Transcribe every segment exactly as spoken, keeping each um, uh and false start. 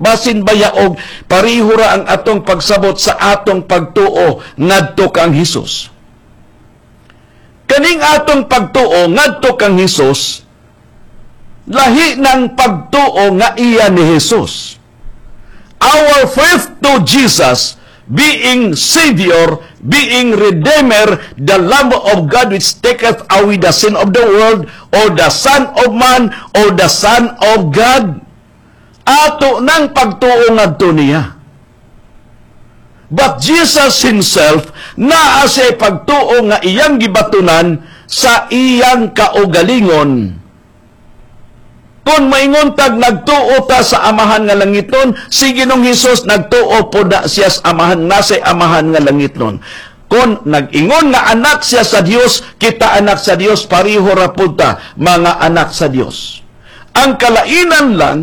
Basin baya og pareho ra ang atong pagsabot sa atong pagtuo ngadto kang Hesus. Kaning atong pagtuo ngadto kang Hesus, lahi ng pagtuo nga iya ni Hesus. Our faith to Jesus being Savior, being Redeemer, the Lamb of God which taketh away the sin of the world, or the Son of Man, or the Son of God. Ato nang pagtuo ngadto niya. But Jesus himself, naa siya pagtuo nga iyang gibatunan sa iyang kaugalingon. Kung maingon tag nagtuo ta sa Amahan nga langiton, si Ginoong Hesus nagtuo po na siya sa Amahan, nasa Amahan nga langiton. Kung nag-ingon nga anak siya sa Dios, kita anak sa Dios, pareho ra pud ta mga anak sa Dios. Ang kalainan lang,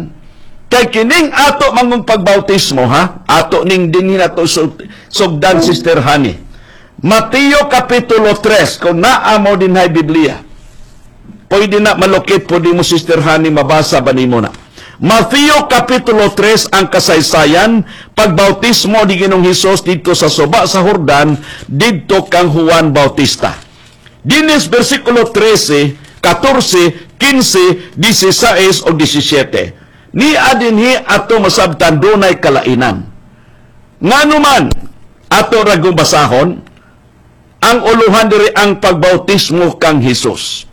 kay kining ato mangong pagbautismo, ha? Ato ning dinhi nato sugdan, Sister Honey. Mateo Kapitulo tres, kung naa mo dinhay Biblia. Pwede na malukit, pwede mo, Sister Honey, mabasa ba nimo na. Mateo Kapitulo tres ang kasaysayan, pagbautismo ni Ginoong Hesus didto sa suba sa Jordan, didto kang Juan Bautista. Dinis versikulo trese, katorse, kinse, disisais o disisiete. Ni adinhi ato masabtan dunay kalainan. Ngano man ato ragong basahon, ang uluhan diri ang pagbautismo kang Hesus.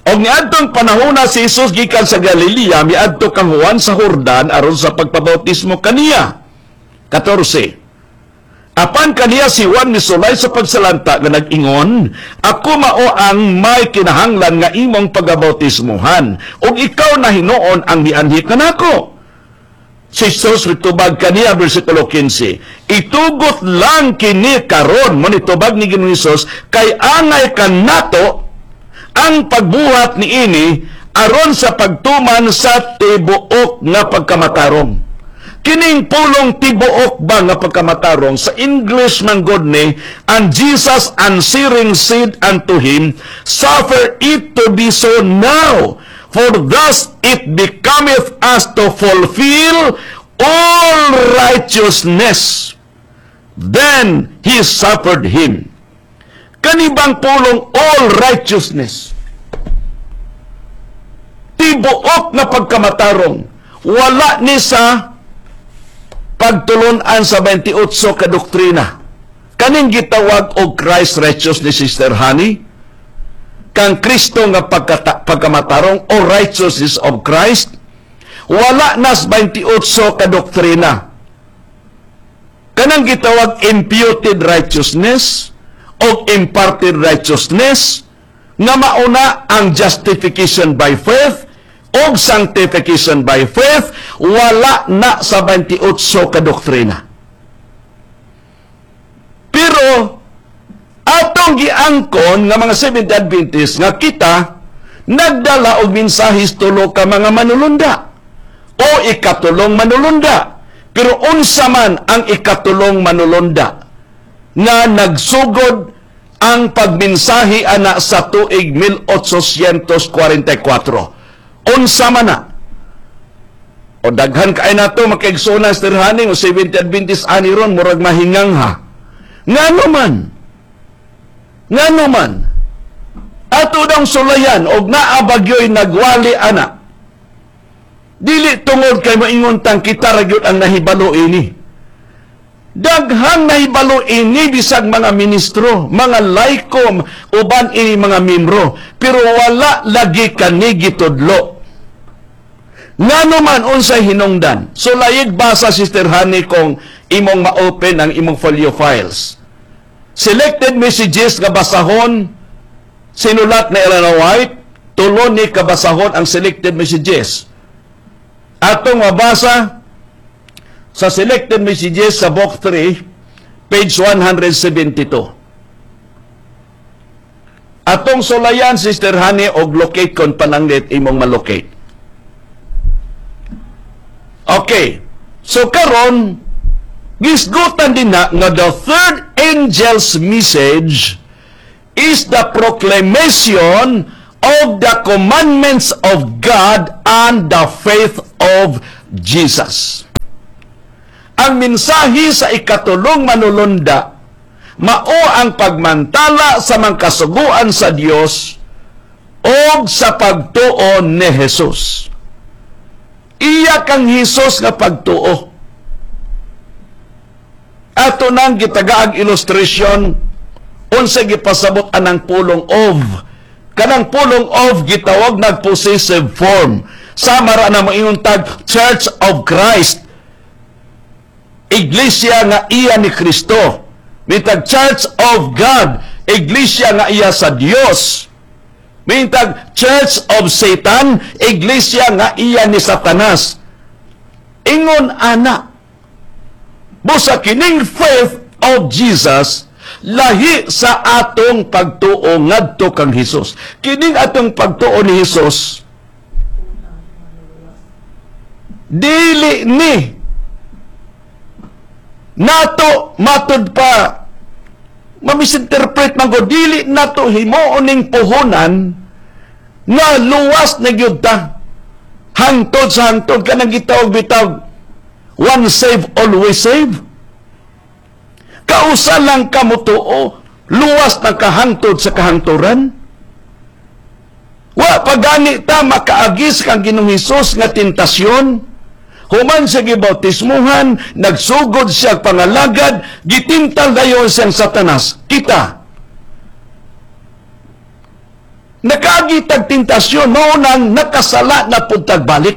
Og niadtong panahona si Jesus gikan sa Galilea, miadto kang Juan sa Jordan aron sa pagpabautismo kaniya. katorse. Apan kaniya si Juan misulay sa pagsalanta nga nag-ingon, "Ako mao ang may kinahanglan nga imong pagabautismohan, ug ikaw na hinuon ang mianhi kanako?" Si Jesus mitubag kaniya, versikulo kinse, "Itugot lang kini karon," mo nitubag ni Ginoong Hesus, "kay angay kanato ang pagbuhat niini aron sa pagtuman sa tibuok nga pagkamatarong." Kining pulong tibuok ba nga pagkamatarong sa English man god ni, "And Jesus answering said unto him, 'Suffer it to be so now, for thus it becometh us to fulfill all righteousness.' Then he suffered him." Kanibang pulong all righteousness? Tibuok na pagkamatarong. Wala ni sa pagtulunan sa beinte otso ka doktrina. Kaning gitawag og Christ righteousness, Sister Honey, kang Kristo nga pagkata, pagkamatarong o righteousness of Christ, wala nas beinte otso ka doktrina. Kanang gitawag imputed righteousness o imparted righteousness nga mauna ang justification by faith o sanctification by faith, wala na sa beinte otso ka doktrina. Pero atong giangkon nga mga Seventh Adventist nga kita nagdala og mensahe tulo ka mga manulunda o ikatulong manulunda. Pero unsa man ang ikatulong manulunda nga nagsugod ang pagmensahe ana sa tuig mil otsosyentos kwarenta y kwatro? Unsa man na? O daghan kay nato makaigsoon, Sister Honey, o Seventh Adventist ani ron murag mahingang ha. Ngano man? Ngano man? Ato dang sulayan og naa bagyoy nagwali ana. Dili tungod kay moingon tang kita ra gyud ang nahibalo ini. Daghang nahibalo ini bisag mga ministro, mga layko, uban ini mga membro, pero wala lagi kani gitudlo. Ngano man, unsay hinungdan? So layig basa, Sister Honey, kung imong ma-open ang imong folio files. Selected Messages nga basahon sinulat ni Elena White, tulo ni kabasahon ang Selected Messages. Atong mabasa sa Selected Messages sa Book three, page one seventy-two. Atong sulayan, Sister Honey, og locate kon pananglit imong malocate. Okay. So karon gisgutan din na nga the third angel's message is the proclamation of the commandments of God and the faith of Jesus. Ang mensahe sa ikatulong manulunda mao ang pagmantala sa mangkasuguan sa Dios og sa pagtuo ni Jesus. Iya kang Hesus nga pagtuo. Ato nang gitagaag illustration unsa gipasabot anang pulong "of". Kanang pulong "of" gitawag nag possessive form. Sama ra na moingon tag Church of Christ. Iglesia nga iya ni Kristo. Mitag Church of God, iglesia nga iya sa Dios. Mintag Church of Satan, iglesia nga iya ni Satanas. Ingon ana. Busa kining faith of Jesus lahi sa atong pagtuo ngadto kang Hesus. Kining atong pagtuo ni Hesus dili ni nato matud pa mamisinterpret man ko, dili nato himuon ning puhunan nga luwas na gyud ta hangtod sa hangtod, kanang gitawag bitaw "one save, always save". Kausa lang ka motuo, luwas na kahangtod sa kahangturan. Wa pa gani ta makaagi sa kang Ginoong Hesus nga tentasyon. Human siya gibautismuhan, nagsugod siya pangalagad, gitintal dayon siyang Satanas. Kita nakaagi tag tentasyon, mao nang nakasala na pud tag balik.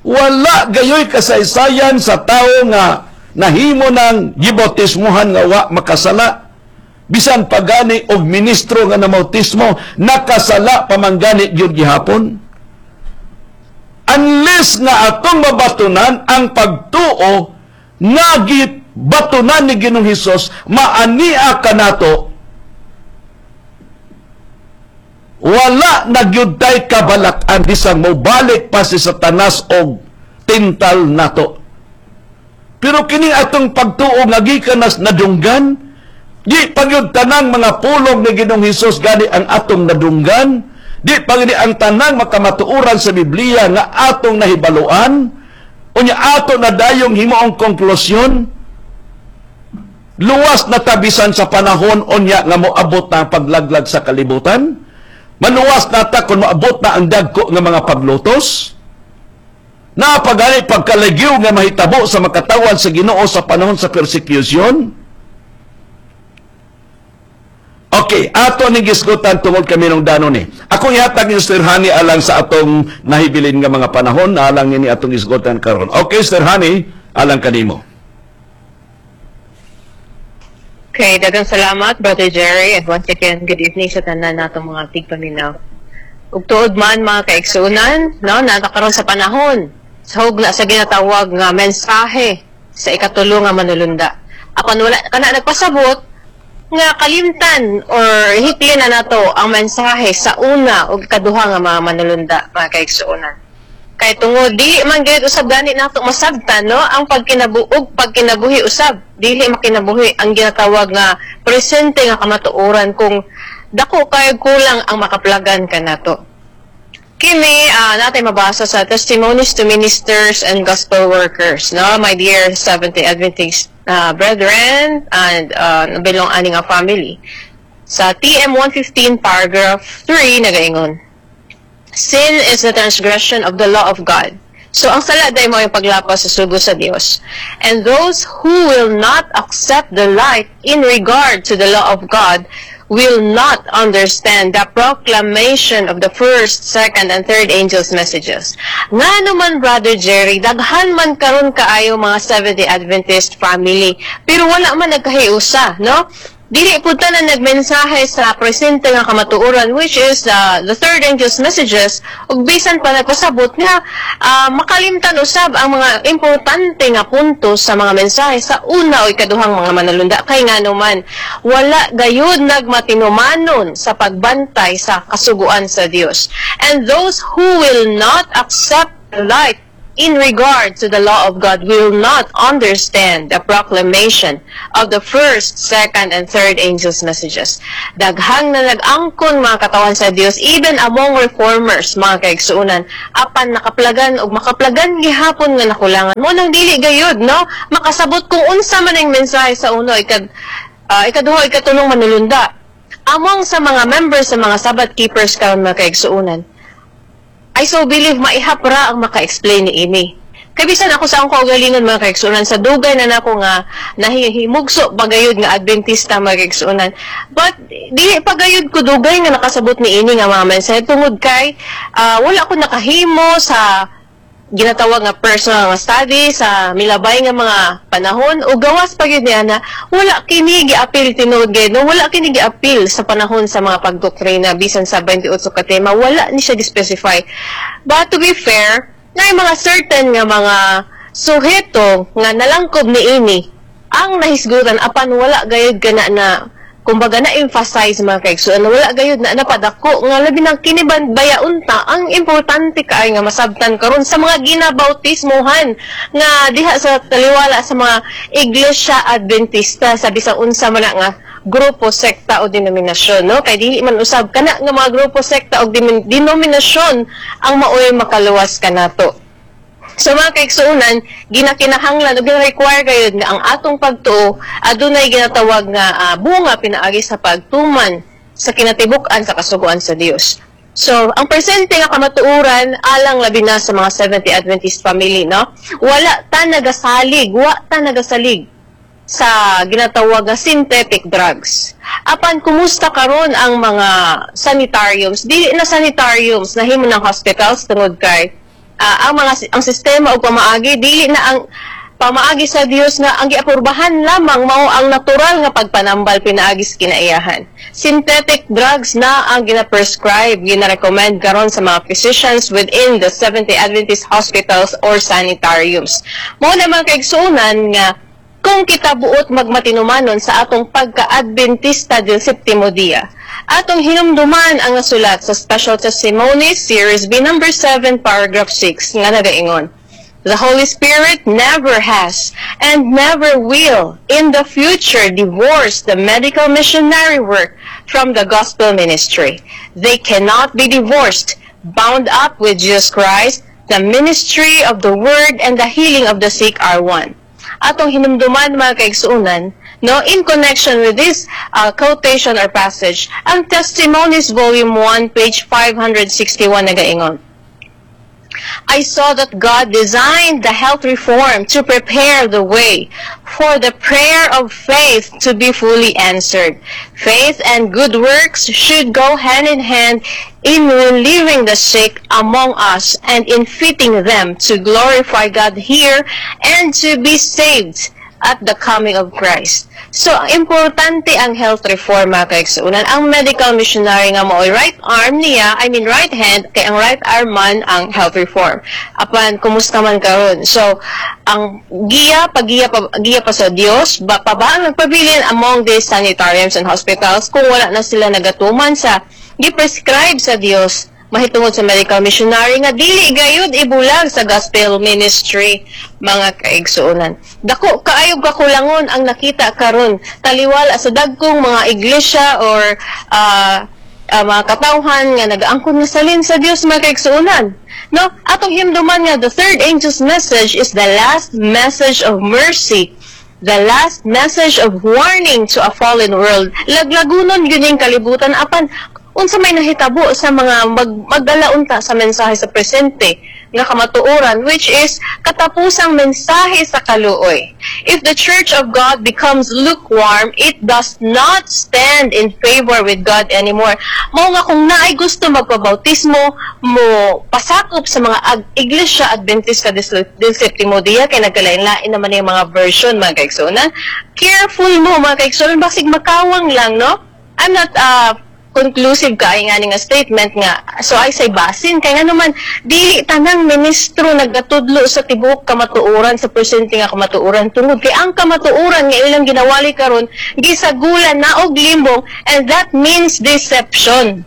Wala gayoy kasaysayan sa tao nga nahimo ng gibautismuhan nga wa makasala. Bisan pagani og ministro nga namautismo, nakasala pamanggani gyud gihapon. Unless nga atong mabatunan ang pagtuo nga gibatunan ni Ginoong Hesus, maania kanato, wala na gyud tay kabalak-an bisan mobalik pa si Satanas og tintal nato. Pero kini atong pagtuo nga gikan nas nadunggan, di pa gyud tanang mga pulong ni Ginoong Hesus gani ang atong nadunggan, di pa gyud ang tanang makamatuoran sa Biblia nga atong nahibaluan, unya ato na dayong himuong konklusyon, luwas na tabisan sa panahon unya nga moabot na ang paglaglag sa kalibutan, maluwas na ta kung moabot na ang dagko nga mga paglutos, napagani pagkalagyo nga mahitabo sa makatawan sa Ginoo sa panahon sa persecution. Okay, ato ni gisgutan tungod kami nung danon ni. Akong ihatag ni Sister Honey alang sa atong nahibilin nga mga panahon, alang ini atong gisgutan karon. Okay, Sister Honey, alang kanimo. Okay, daghang salamat, Brother Jerry, and once again, good evening sa tanan natong mga tigpaminaw. Ug tuod man, mga kaigsuonan, no, naa ta karon sa panahon sa hugna sa ginatawag nga mensahe sa ikatulo nga manulunda. Apan wala kana nagpasabot nga kalimtan or hiklin na nato ang mensahe sa una ug ikaduha nga mga manulunda, mga kaigsuonan. Kay tungod di man gyud usab gani nato masabtan, no, ang pagkinabuog pagkinabuhi usab dili makinabuhi ang ginatawag nga presente nga kamatuoran kung dako kay kulang ang makaplagan kanato. Kini uh, natin mabasa sa Testimonies to Ministers and Gospel Workers, no, my dear Seventh-day Adventist uh, brethren and uh, belong ani nga family. Sa T M one fifteen paragraph three nagaingon, "Sin is the transgression of the law of God." So, ang sala day mao yung paglapas sa sugo sa Dios. "And those who will not accept the light in regard to the law of God will not understand the proclamation of the first, second, and third angels' messages." Nga naman, Brother Jerry, daghan man karon kaayo mga Seventh-day Adventist family, pero wala man nagkahiusa, no? Dili pud tanan nagmensahe sa presente nga kamatuoran, which is uh, the third angel's messages, ug bisan pa nagpasabot nga uh, makalimtan usab ang mga importante nga punto sa mga mensahe sa una o ikaduhang mga manulunda, kay ngano man wala gayud nagmatinumanon sa pagbantay sa kasuguan sa Dios. "And those who will not accept the light in regard to the law of God will not understand the proclamation of the first, second, and third angels' messages. Daghang na nag-angkon mga katawhan sa Dios, even among reformers, mga kaigsuonan, apan nakaplagan og makaplagan gihapon nga nakulangan. Mao nang dili gayud, no? Makasabot kung unsa man ang mensahe sa uno, ikad, uh, ikaduha, ikatulong manulunda. Among sa mga members sa mga Sabbath keepers karon mga kaigsuonan, I so believe maihap ra ang maka-explain ni ini. Kay bisan ako sa akong kaugalingon mga kaigsuonan sa dugay na nako nga nahihimugso pagayod nga Adventista mga kaigsuonan. But dili pagayod ko dugay nga nakasabot ni ini nga mga mensahe tungod kay ah, wala ko nakahimo sa ginatawag nga personal nga study sa milabay nga mga panahon o gawas pa gyud niya na wala kini giapil tinuod gayud no wala kini giapil sa panahon sa mga pagdoktrina bisan sa twenty-eight ka tema wala ni siya gi-specify. But to be fair na mga certain nga mga suheto nga nalangkob ni ini ang nahisgutan apan wala gayud kana na kumbaga na emphasize mga kaigsuonan wala gayud na napadako nga labi nang kini baya unta ang importante kaay nga masabtan karon sa mga ginabautismohan nga diha sa taliwala sa mga iglesia Adventista sa bisang unsa man na nga grupo sekta o denominasyon no kay dili man usab kana nga mga grupo sekta o dimin- denominasyon ang maoy makaluwas kanato. So mga kaigsuonan, ginakinahanglan o gina-require gayud nga ang atong pagtuo adunay ginatawag nga ah, bunga pinaagi sa pagtuman sa kinatibuk-an sa kasuguan sa Dios. So, ang presente nga kamatuoran alang labi na sa mga Seventh-day Adventist family, no? Wala ta nagasalig, wa ta nagasalig sa ginatawag nga synthetic drugs. Apan kumusta karon ang mga sanitariums? Dili na sanitariums nahimo ng hospitals tungod kay ah, ang mga ang sistema og pamaagi dili na ang pamaagi sa Dios nga ang giapurbahan lamang mao ang natural nga pagpanambal pinaagi sa kinaiyahan. Synthetic drugs na ang gina-prescribe, gina-recommend karon sa mga physicians within the Seventh-day Adventist hospitals or sanitariums. Mao na mga kaigsuonan nga kung kita buot magmatinumanon sa atong pagka-Adventista del Septimo Dia, atong hinumduman ang nasulat sa Special Testimonies, Series B, number seven, paragraph six, nga nagaingon, "The Holy Spirit never has and never will in the future divorce the medical missionary work from the gospel ministry. They cannot be divorced. Bound up with Jesus Christ, the ministry of the word and the healing of the sick are one." Atong hinumduman mga kaigsuonan, no, in connection with this uh, quotation or passage, ang Testimonies Volume one, page five hundred sixty-one nagaingon, "I saw that God designed the health reform to prepare the way for the prayer of faith to be fully answered. Faith and good works should go hand in hand in relieving the sick among us and in fitting them to glorify God here and to be saved at the coming of Christ." So, importante ang health reform mga kaigsuonan. Ang medical missionary nga mao'y right arm niya, I mean right hand, kay ang right arm man ang health reform. Apan, kumusta man karon? So, ang giya, pagiya pa, giya pa sa Dios, ba, pa ba ang nagpabilin among these sanitariums and hospitals kung wala na sila nagatuman sa gi-prescribe sa Dios mahitungod sa medical missionary nga dili gayud ibulag sa gospel ministry mga kaigsuonan. Dako kaayo kakulangon ang nakita karon taliwala sa dagkong mga iglesia or ah, ah, mga katawhan nga nagaangkon nga salin sa Dios mga kaigsuonan. No, atong himduman nga the third angel's message is the last message of mercy the last message of warning to a fallen world. Laglagunon yun yung kalibutan apan unsa may nahitabo sa mga mag, magdala unta sa mensahe sa presente nga kamatuoran which is katapusang mensahe sa kaluoy. If the church of God becomes lukewarm, it does not stand in favor with God anymore. Mao nga kung naay gusto magpabautismo, mo pasakop sa mga ag- Iglesia Adventista del, del Septimo Dia kay nagkalain-lain naman yung mga version mga kaigsuonan. Careful mo mga kaigsuonan basig makawang lang no. I'm not uh, conclusive kay nga nga statement nga so ay say basin kay nga naman dili tanang ministro nagatudlo sa tibuok kamatuoran sa presente nga kamatuoran tungod kay ang kamatuoran nga ilang ginawali karon gisagulan na og limbong and that means deception.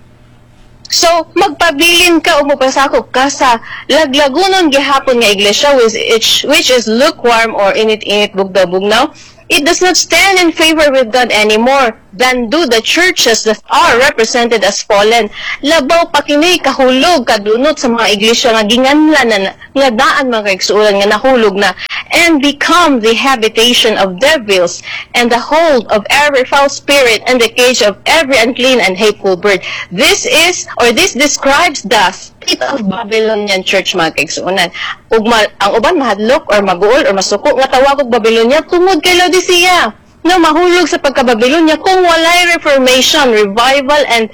So, magpabilin ka o mopasakop ka sa laglagunon gihapon nga iglesia which, which is lukewarm or init-init, bugnaw-bugnaw. It does not stand in favor with God anymore than do the churches that are represented as fallen. Labaw pa kini kahulog, kadunot sa mga iglesia nga ginganlan na nga daan, mga kaigsuonan, nga nahulog na and become the habitation of devils and the hold of every foul spirit and the cage of every unclean and hateful bird. This is or this describes the state of Babylonian church, mga kaigsuonan. Ug ma- ang uban mahadlok or maguol or masuko nga tawag og Babylonia tungod kay Laodicea. No, mahulog sa pagka-Babylonia kung walay reformation, revival and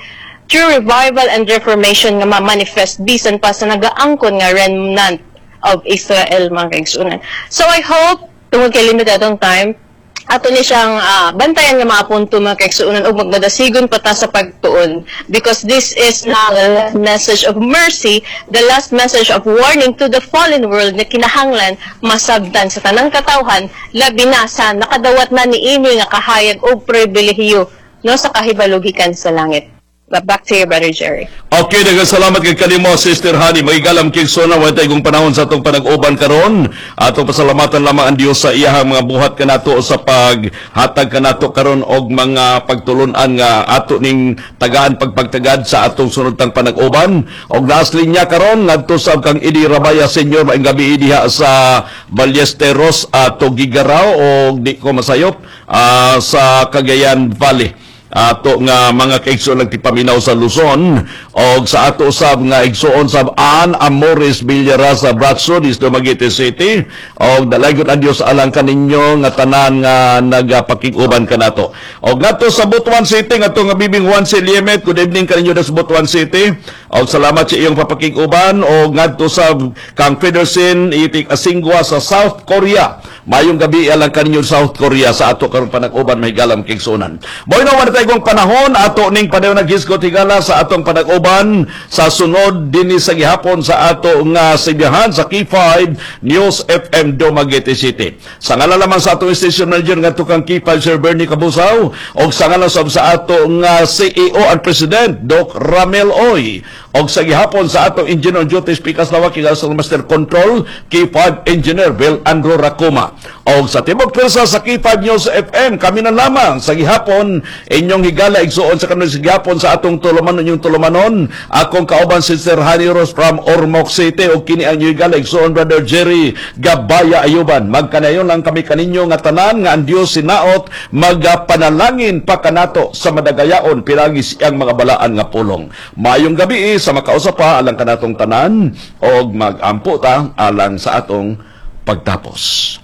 true revival and reformation nga ma-manifest bisan pa sa nagaangkon nga remnant of Israel, mga kaigsuonan. So I hope, tungod kay limited atong time, ato ni siyang ah, bantayan nga mga punto, mga kaigsuonan, ug magmadasigon pa ta sa pagtuon because this is now the last message of mercy, the last message of warning to the fallen world na kinahanglan masabtan sa tanang katawhan, labi na sa nakadawat na niini nga kahayag og pribilehiyo, no, sa kahibalo gikan sa langit. But back to you, Brother Jerry. Okay, daghang salamat kay kanimo, Sister Honey. Mga higalang kaigsuonan, wa tay panahon sa atong panag-uban karon. Atong pasalamatan lamang ang Dios sa iyahang mga buhat kanato sa paghatag kanato karon og mga pagtulunan nga ato ning tagaan pagpagtagad sa atong sunod tang panag-uban. Og last linya karon ngadto sa kang Idi Rabaya Senior, maayong gabi diha sa Ballesteros, ato Gigaraw og di ko masayop ah, sa Cagayan Valley, ato nga mga kaigsoon nagtipaminaw sa Luzon, og sa ato sab nga igsoon sab Ann Amores Villarasa Bratso dis Dumaguete City, og dalaygon ang Dios alang kaninyo nga tanan nga nagapakig-uban kanato. Og ngadto sa Butuan City, ngadto nga Bibing Juan C. Liemet, good evening kaninyo sa Butuan City og salamat sa iyong papakig-uban. Og ngadto sa kang Federsen Itik Asingwa sa South Korea, mayong gabi alang kaninyo South Korea sa ato karon panag-uban, mahigalam kaigsuonan. Moy na wala tayong panahon, ato ning padayon naghisgot, higala, sa atong panag-uban sa sunod dinhi sa gihapon sa ato nga sibihan sa K five News F M Dumaguete City. Sa ngalan lamang sa atong station manager nga kang K five Sir Bernie Kabusaw og sa ngalan sab sa ato nga C E O and President Doc Ramel Oy og sa gihapon sa atong engineer on duty Speakers Lawak sa Master Control K five Engineer Bill Andrew Racoma og sa tibok pwersa sa K five News F M, kami na lamang sa gihapon inyong higala igsuon sa kanila sa gihapon sa atong tulumanon, inyong tulumanon, akong kauban si Sir Honey Rose from Ormoc City og kini ang inyong higala igsuon, Brother Jerry Gabaya Ayuban. Magkanayon lang kami kaninyo nga tanan nga ang Dios sinaot magapanalangin pa kanato sa madagayaon pinagi siyang mga balaan nga pulong. Maayong gabi sa makausa pa alang kanatong tanan og magampo ta alang sa atong pagtapos.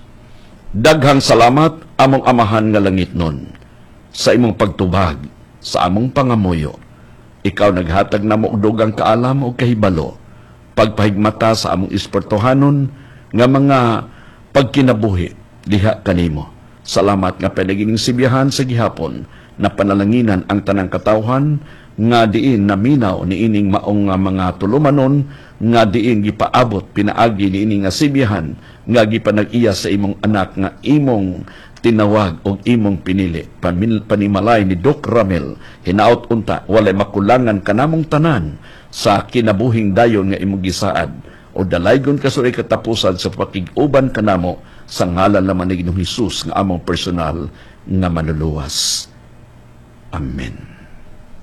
Daghang salamat, among Amahan nga langitnon, sa imong pagtubag sa among pangamuyo. Ikaw naghatag namo og dugang kaalam o kahibalo, pagpahigmata sa among espirituhanon nga mga pagkinabuhi diha kanimo. Salamat nga pinagining sibihan sa gihapon na panalanginan ang tanang katawhan nga diin naminaw niining maong nga mga tulumanon nga diin gipaabot pinaagi niini nga sibihan nga gipanag-iya sa imong anak nga imong tinawag og imong pinili Pamin, panimalay ni Doc Ramel. Hinaot unta walay makulangan kanamong tanan sa kinabuhing dayon nga imong gisaad o dalaygon ka sa katapusan sa pakig-uban kanamo sa ngalan lamang ni Ginoong Hesus nga among personal nga manluluwas. Amen.